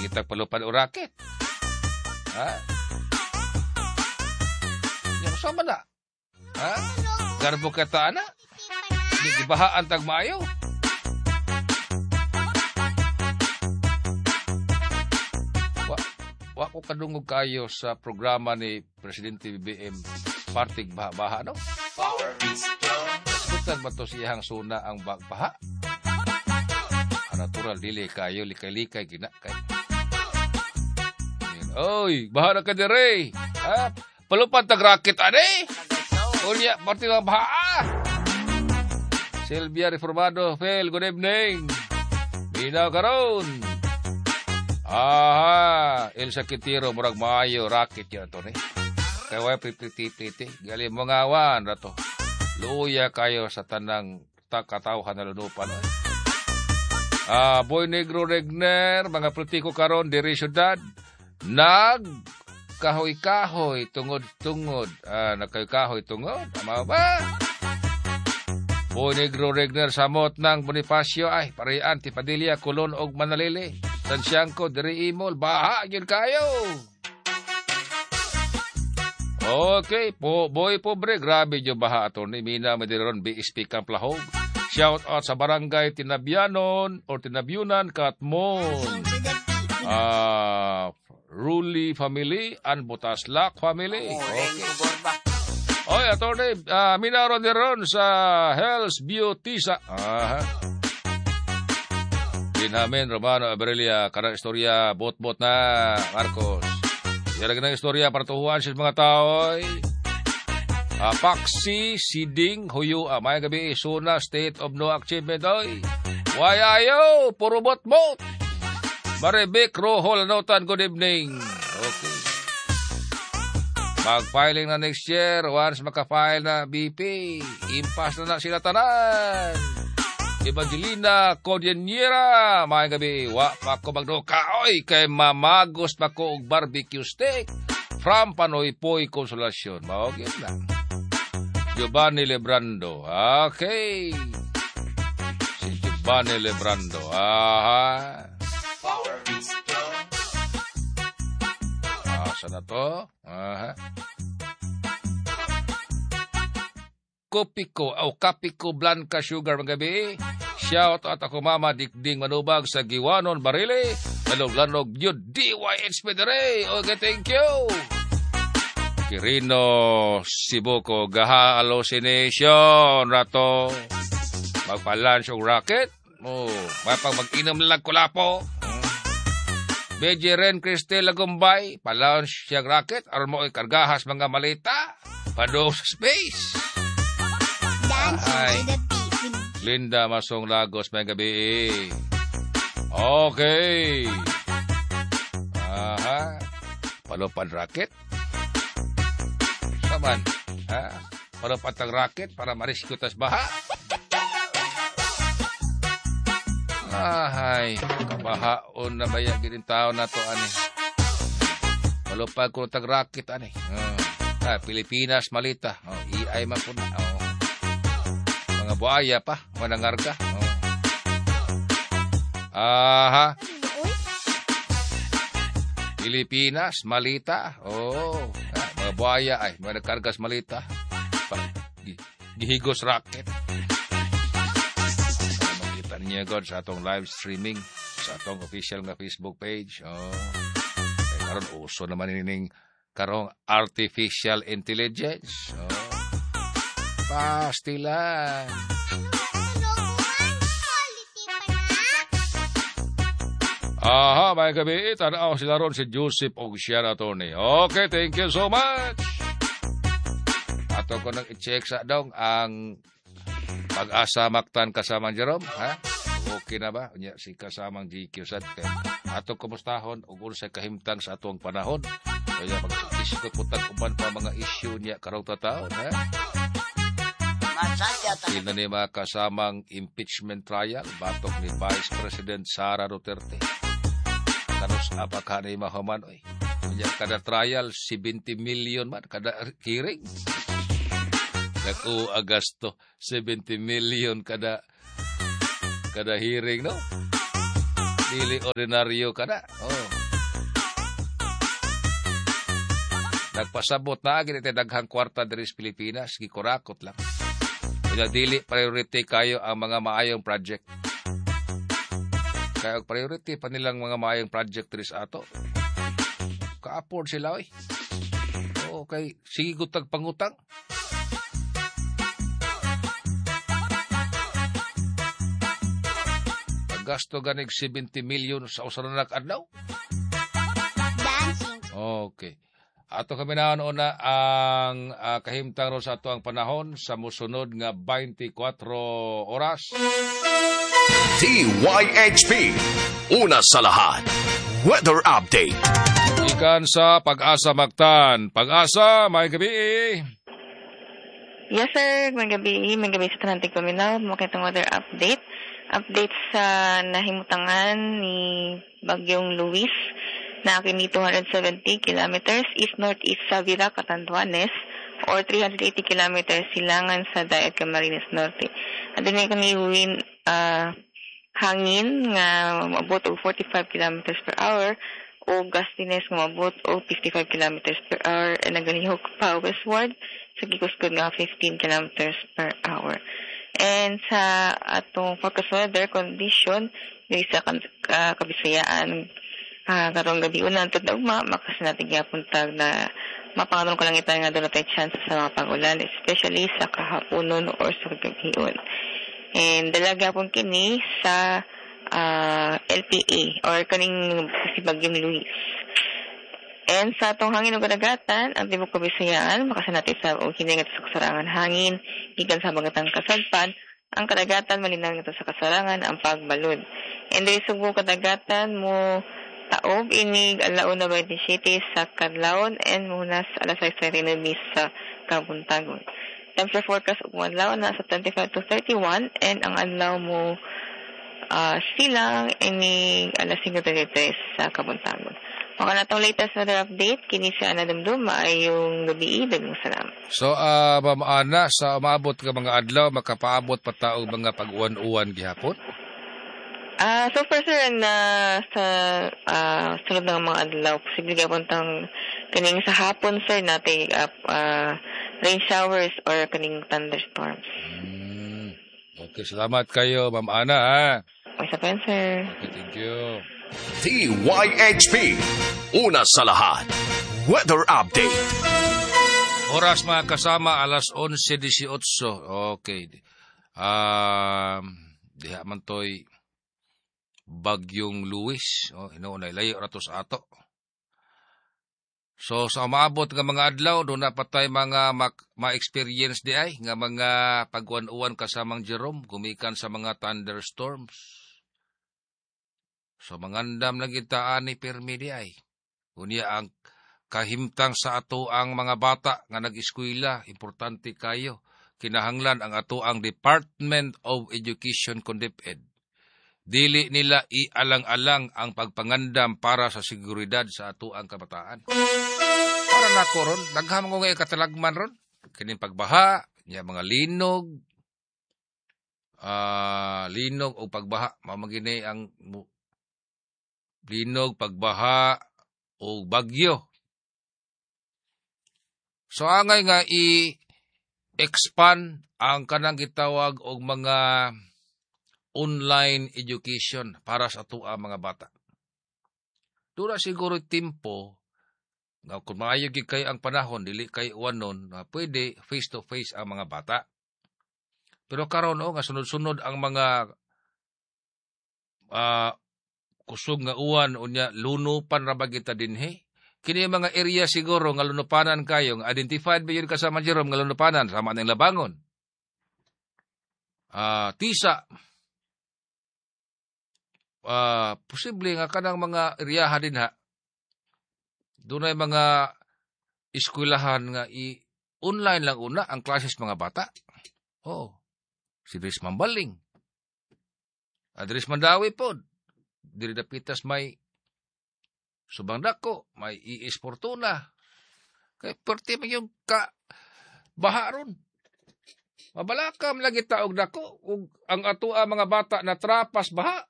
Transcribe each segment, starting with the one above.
Kita palupan o raket. Ha? Yung sama na. Ha? Garbo ka ta, ana? Di gibahaan tag maayo. Wa ko kadungog kayo sa programa ni Presidente BBM partig baha-baha, no? Kasbutan ba to siyang suna ang baha? Natural, dili kayo, likay-likay, gina kay. Oy, baha na ka dire. Ha? Palupan tag raket, ane? Unya, partig ang baha. Silvia Reformado, Phil, good evening. Binaw karon. Aha, Elsa Quintero, murag maayo, raket yan to, ni. Kaya way priti-priti, gali mga awan, rato. Luya kayo sa tanang katawhan na lunupan. Boy Negro Regner, mga politiko karon diri syudad, nag kahoy-kahoy tungod-tungod. Nagkahoy-kahoy tungod. Ama ba? Boy Negro Regner samot ng Bonifacio ay Parian, Tipadilla, Colon og Manalili. Tansiangko diri imol, baha gyud kayo. Okay, po boy pobre, grabe jud baha ato ni Mina Madiron BSP Camp Lahog. Shout out sa barangay Tinabyanon or Tinabyunan, Katmon. Ruli family and Butaslak family. Okay. Oy, attorney, minaron ron sa Hell's Beauty sa. Aha. Benjamin Romano Aberelia, karang istorya, bot-bot na, Marcos. Yarag ng istorya para tuhuan sa mga tao. Paksi, Siding, Huyo, may gabi, Suna, State of No Achievement, oy. Why ayo, puro bot-bot. Maribik, Rohol, Notan, good evening. Okay. Mag-filing na next year, once maka-file na BP, impas na na sila tanan. Evangelina Cordillera, may gabi, wa pa ko magduka, oy, kay mamagos pa ko og barbecue steak from Panoypoy Consolacion. Mao gyud na. Giovanni Lebrando. Okay. Si Giovanni Lebrando. Aha. Asa na to? Aha. Kopiko o Kapiko Blanca Sugar magabi. Shout out ako mama Dikding Manubag sa Giwanon Barili. Lanog-lanog yun DYH Pedere. Okay, thank you. Quirino Sibuko gaha hallucination rato. Magpa-lunch og rocket. Oh, mapang mag-inom lang kulapo. BJ Ren Cristel Lagumbay, pa-launch siyang rocket aron mo ikargahas mga malita padung sa space. Ay. Linda Masong Lagos, may gabi. Okay. Aha. Palupan rocket. Saman. Ha? Palupan tang rocket para marisyo tas baha. Ahay. Kabahaon na baya gining tao na to ani. Palupan ko tang rocket ani. Pilipinas malita. Oh, EI man po na. Oh. Mga buaya pa, manangarga. Oh. Aha. Pilipinas, malita. Oh, mga buaya ay, mga nagkargas malita. Gihigos rocket. Makita niyo God sa atong live streaming, sa atong official nga Facebook page. Oh. Kaya karon uso naman ining karong artificial intelligence. Oh. Pastilan. Aha, may gabi. Tanaw sila ron si Joseph og siya na Tony. Okay, thank you so much. Ato ko nang i-check sa dong ang Pag-asa Mactan kasamang Jerome. Ha? Okay na ba? Unya, si kasamang GQ sad. Ato kumustahon og unsay kahimtang sa atong panahon. Kaya mag-isikot po tag-uban pa mga issue niya karong tataon. Ha? Sila ni mga kasamang impeachment trial batok ni Vice President Sara Duterte. Kanos apaka ni mahuman oy. Unya kada trial 70 million man kada hearing. Naku Agasto 70 million kada hearing, no? Dili ordinaryo kada. Oh. Nagpasabot na agi iti daghang kwarta diri sa Pilipinas, gikurakot lang. Kaya dili priority kayo ang mga maayong project. Kaya og priority pa nilang mga maayong project diri sa ato. Ka-afford sila oy. Oo, kay sige gutag pangutang. Gasto ganig 70 million sa usa na adlaw. Okay. Ato kami na una ang kahimtang ron sa ato ang panahon sa musunod nga 24 oras. DYHP. Una sa lahat. Weather update. Ikan sa Pag-asa Mactan. Pag-asa, may gabi. Yes, sir. May gabi. May gabi sa Tanantig Paminaw. Makitang weather update. Update sa nahimutangan ni Bagyong Luis na kini 270 kilometers east-northeast sa Vira, Catanduanes or 380 kilometers silangan sa Daet, Camarines Norte. Adunay kani wind hangin nga moabot og 45 kilometers per hour o gustiness nga moabot og 55 kilometers per hour and nagalihok pa westward sa gikuskod nga 15 kilometers per hour. And sa atong forecast weather condition diri sa Kabisayaan karong gabi una antud na ugma makasinati gyapon tag na mapangaron kalangitan nga dunay chance sa mga pag-ulan, especially sa kahaponon or sa gabion. And dala gyapon kini sa LPA or kaning si Bagyong Luis. And sa atong hangin ug kadagatan, ang tibuok Kabisayaan makasinati sa og hinay ngadto sa kasarangan hangin gikan sa habagatang kasadpan. Ang kadagatan malinaw ngadto sa kasarangan ang pagbalud. And diri Subo kadagatan mo taob inig alauna 27 sa Kadlawon and munas alas 6:39 sa Kabuntagon. Temperature forecast ug adlaw na sa 25 to 31 and ang adlaw mo silang inig alas 5:33 sa Kabuntagon. Maka na itong latest weather update, kini si Ana Dumdum, maayong gabi, daghang salamat. So, Ma'am Ana, sa umaabot ka mga adlaw, makapaabot pa ta og mga pag-uwan-uwan gihapon? So far, sir, na sa sunod ng mga adlaw, posible gihapon tang kaning sa hapon, sir, natay rain showers or kaning thunderstorms. Okay, salamat kayo, Ma'am Ana, ha? Okay, sa pen, sir. Okay, thank you. DYHP. Una sa lahat. Weather update. Oras mga kasama, alas 11:18. Okay. Diha man to'y Bagyong Luis. Oh, inuunay layo rato sa ato. So sa umaabot nga mga adlaw, doon na patay mga ma-experience di ay, nga mga pagwan-uwan kasamang Jerome, gumikan sa mga thunderstorms. So mangandam na kita ani pirmi di ay. Unya ang kahimtang sa ato ang mga bata nga nag-eskwela, importante kayo. Kinahanglan ang ato ang Department of Education kon DepEd. Dili nila ialang-alang ang pagpangandam para sa seguridad sa ato ang kabataan. Para nako ron, daghan ko ngay katalagman ron. Kining pagbaha, nya mga linog, linog o pagbaha, mao man ang linog, pagbaha o bagyo. So angay nga i-expand ang kanang gitawag og mga online education para sa atoa mga bata. Dura siguro timpo nga kung maayo gid kay ang panahon dili kay uwanon, pwede face to face ang mga bata. Pero karon nga sunod-sunod ang mga kusog nga uwan unya lunupan ra ba kita dinhi. Kini mga area siguro nga lunupanan kayo, nga identified ba yun kasama Jerome nga lunupanan sama ning Labangon. Tisa. Posible nga kanang mga eriyaha dinha dunay mga eskwelahan nga i-online lang una ang klases mga bata. Oh, si Dris Mambaling. Dris Mandawi pod. Diri dapitas may Subang Dako, may Iis Fortuna. Kay perti man yung ka baha ron. Mabalakam lagi taog dako ug ang atoa mga bata na trapas baha.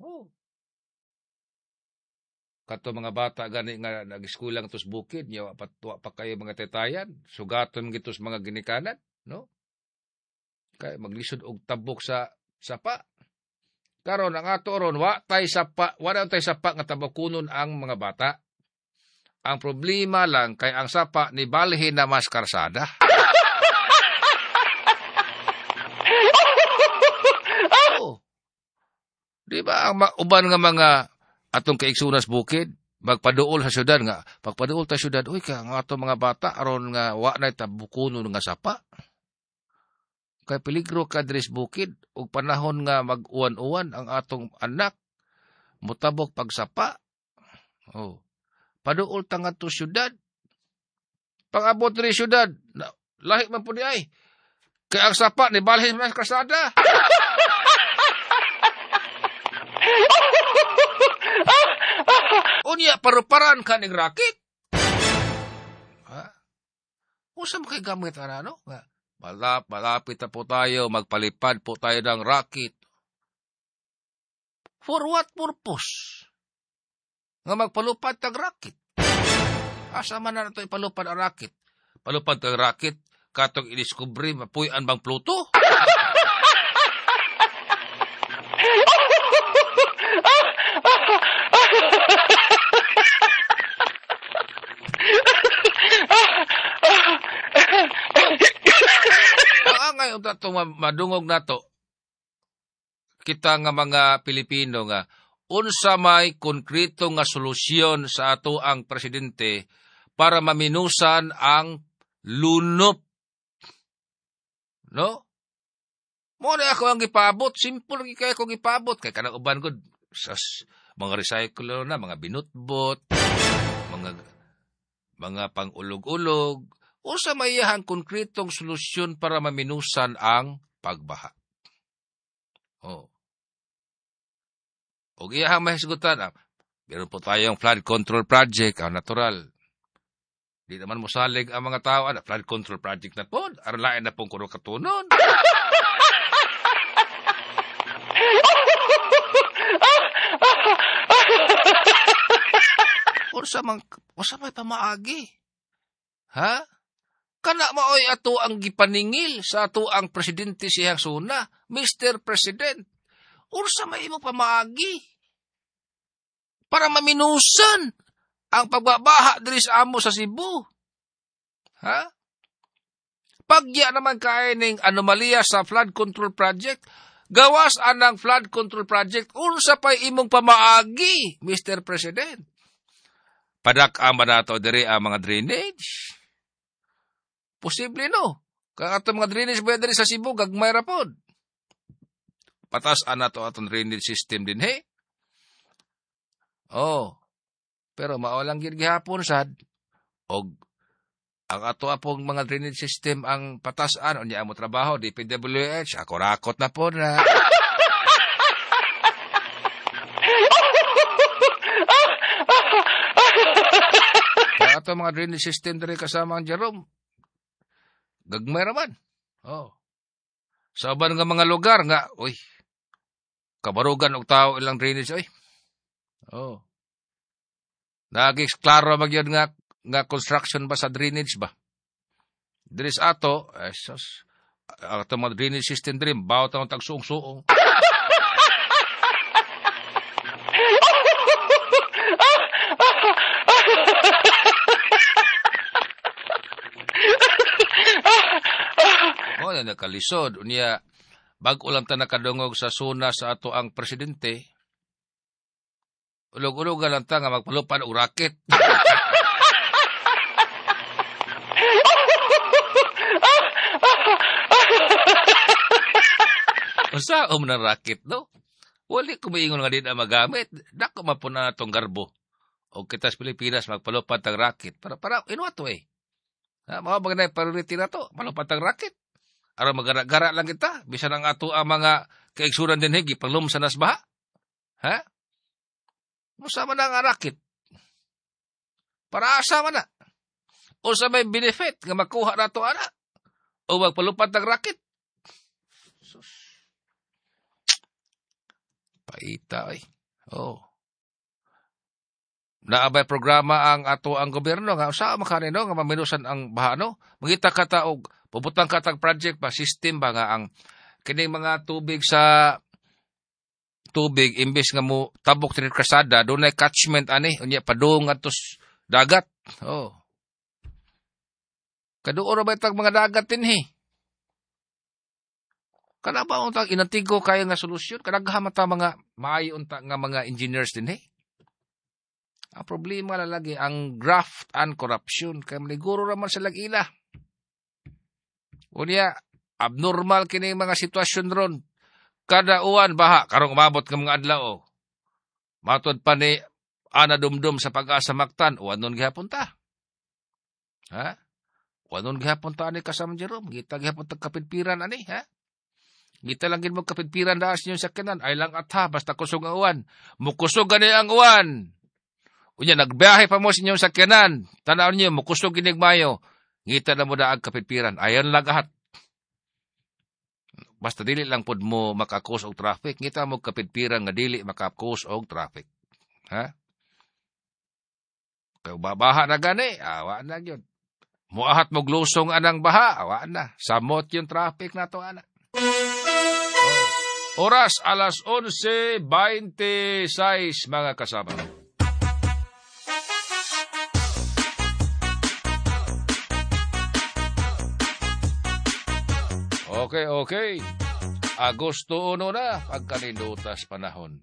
Oh. Kato mga bata gani nga nag-eskwela ngadto sa bukid, nya wa pa kayo mga tetayan, sugaton gito sa mga ginikanan, no? Kay maglisod og tabok sa sapa. Karon ang ato ron wa tay sapa, wala tay sapa nga tabokunon ang mga bata. Ang problema lang kay ang sapa ni balhin na mas karsada. Oh. Di ba ang uban nga mga atong kaigsunas bukid magpaduol sa syudad nga pagpaduol ta syudad, uy ka ang atong mga bata aron nga wa nay tabukunon nga sapa. Kay peligro ka diri sa bukid ug panahon nga mag-uwan-uwan ang atong anak motabok pagsapa. Oh. Paduol ta ngadto syudad. Pag-abot diri syudad, lahi man pud ay. Kay ang sapa ni balhin man sa kalsada. Unya paruparan ka ning rakit. Ha? Unsa man kay gamit ana no? Nga malapit na po tayo, magpalipad po tayo ng rakit. For what purpose? Nga magpalupad tag rakit. Asa man na ito ipalupad ang rakit? Palupad tag rakit, katong idiskubre, mapuy-an bang Pluto? Ang angay itong madungog nato, kita nga mga Pilipino nga, unsa may konkreto nga solusyon sa ato ang presidente para maminusan ang lunop. No? Mo na ako ang gipaabot, simple gi kay ako gipaabot kay kanang uban gud sa mga recycle na, mga binutbot, mga pangulog-ulog. Unsa may iyahang konkretong solusyon para maminusan ang pagbaha? Oh. Og iyahang mahisgutan, meron po tayong flood control project, ang natural. Di naman mosalig ang mga tao, flood control project na po, aron lain na pong kuno katunon. Unsa may pamaagi? Ha? Kana maoy ato ang gipaningil sa ato ang presidente siyang suna, Mr. President. Unsa may imong pamaagi para maminusan ang pagbabaha diri sa amo sa Cebu? Ha? Pagya naman kay ning anomalya sa flood control project, gawas anang flood control project, unsa pay imong pamaagi, Mr. President? Padak-an ba nato diri ang mga drainage? Posible no. Kaya atong mga drainage ba diri sa Cebu gagmay ra pod. Patas-an nato atong drainage system din he. Oh. Pero mao lang gid gihapon sad og ang ato apong mga drainage system ang patas-an unya amo trabaho DPWH ako rakot na po na. Kaya ato mga drainage system diri kasama ang Jerome gagmay raman. Oh. Sa uban nga mga lugar nga uy kabarugan og tao ilang drainage oy. Oh. Naging klaro magyud nga construction ba sa drainage ba? Diri sa ato, sus, ato mga drainage system diri bawat ang tagsuong-suong. Oh, na nakalisod unya bag-o lang ta nakadungog sa suna sa ato ang presidente. Ulog-ulogan lang ta nga magpalupad og raket. Usa um ng raket, no? Wali ko maingon nga di na magamit. Dako mapuna na itong garbo. O kita sa Pilipinas, magpalupad tang raket. Para in what way? Ha, mga bagay na priority na to. Malupad tang raket. Aron magara-gara lang kita. Bisan ang ato ang mga kaigsuran din higi, panglumsa nas baha. Ha? Musa man ang raket. Para asa man na. O sa may benefit nga makuha na to ana. O magpalupad ng raket. Sus. Paita ay. Oh. Naabay programa ang ato ang gobyerno nga usa makanino nga maminusan ang baha no. Mangita ka ta og pubutang ka tag project ba system ba nga ang kining mga tubig sa tubig imbes nga mo tabok dinhi krasada dunay catchment ani unya padung adto dagat. Oh. Kaduo ra ba itag mga dagat dinhi? Kana ba untang inantigo kayo nga solusyon? Kadaghan man ta mga maayo unta nga mga engineers dinhi. Ang problema na lagi ang graft and corruption kay maniguro ra man sila ila. Unya abnormal kini mga sitwasyon ron. Kada uwan baha karong umabot nga mga adlaw. Matod pa ni Ana Dumdum sa Pag-asa Mactan, uwan nun gihapon ta. Ha? Uwan nun gihapon ta ani kasama Jerome, gita gihapon ta kapidpiran ani, ha? Gita lang gid mo kapidpiran daas niyo sa kanan, ay lang atha basta kusog ang uwan. Mukusog gani ang uwan. Unya nagbiyahe pa mo sa inyong sakyanan. Tanaw niyo mukusog ginig mayo. Ngita na mo daag kapidpiran. Ayon lang ahat. Basta dili lang pud mo makakos og traffic. Ngita mo kapidpiran nga dili makakos og traffic. Ha? Kay babaha na gani, awa na gyud. Muahat mo glusong anang baha, awa na. Samot yung traffic nato ana. Oh. Oras alas 11:26 mga kasama. Okay, okay. Agosto 1 na, pagkanindutas panahon.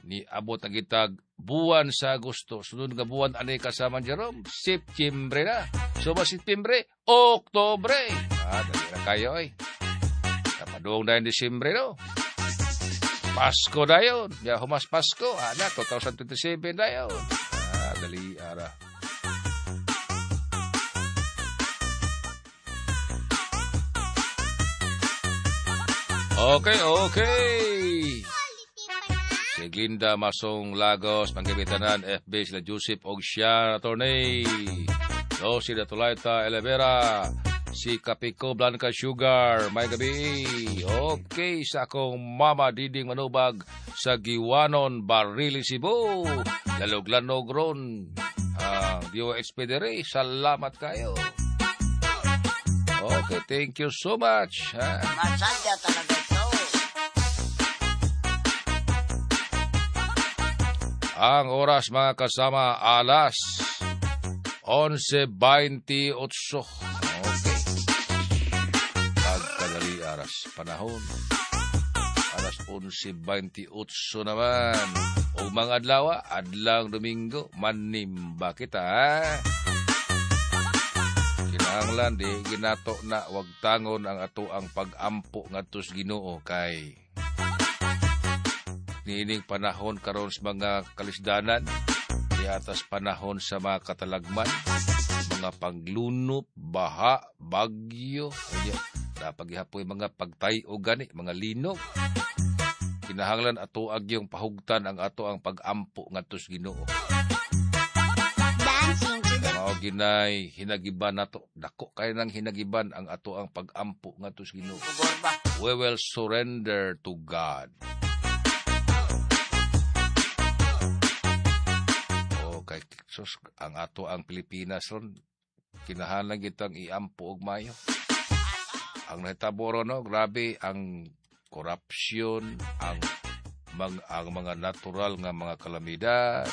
Ni abot ang gitag buwan sa Agosto. Sunod nga buwan, anay kasama Jerome? Septyembre na. So ba Septyembre? Oktobre. Ah, dali na kayo ay. Napadung na yung Disyembre, no? Pasko na yun. Ya, humas Pasko. Ah, na, 2027 na yun. Ah, dali, ara. Okay, okay. Si Glinda Masong Lagos, panggabitanan, FB sila Joseph og siya, attorney. Lo si Datulaita Elevera, si Kapiko Blanca Sugar, may gabi. Okay, sa akong mama Diding Manubag sa Giwanon, Barili, Cebu. Lalog-lanog ron. Ang DOH Pedere, salamat kayo. Okay, thank you so much. Ha? Masadya talaga ito. Ang oras mga kasama, alas 11:28. Okay. Pagkadali aras panahon. Alas 11:28 naman. O mga adlaw, adlang Domingo, manimba kita. Ha? Kinahanglan di ginato na wag tangon ang ato ang pag-ampo ngadto sa Ginoo kay niining panahon karon sa mga kalisdanan, di atas panahon sa mga katalagman, mga paglunop, baha, bagyo, napagihapoy mga pagtay-o gani, mga linog. Kinahanglan ato agyong pahugtan ang ato ang pag-ampo ngadto sa Ginoo. Mao ginay hinagiban nato, dako kay nang hinagiban ang ato ang pag-ampo ngadto sa Ginoo. We will surrender to God. Kay sus, ang ato ang Pilipinas ron kinahanglan kitang iampo og mayo. Ang nahitabo ron, no, grabe ang korupsyon, ang mga natural nga mga kalamidad.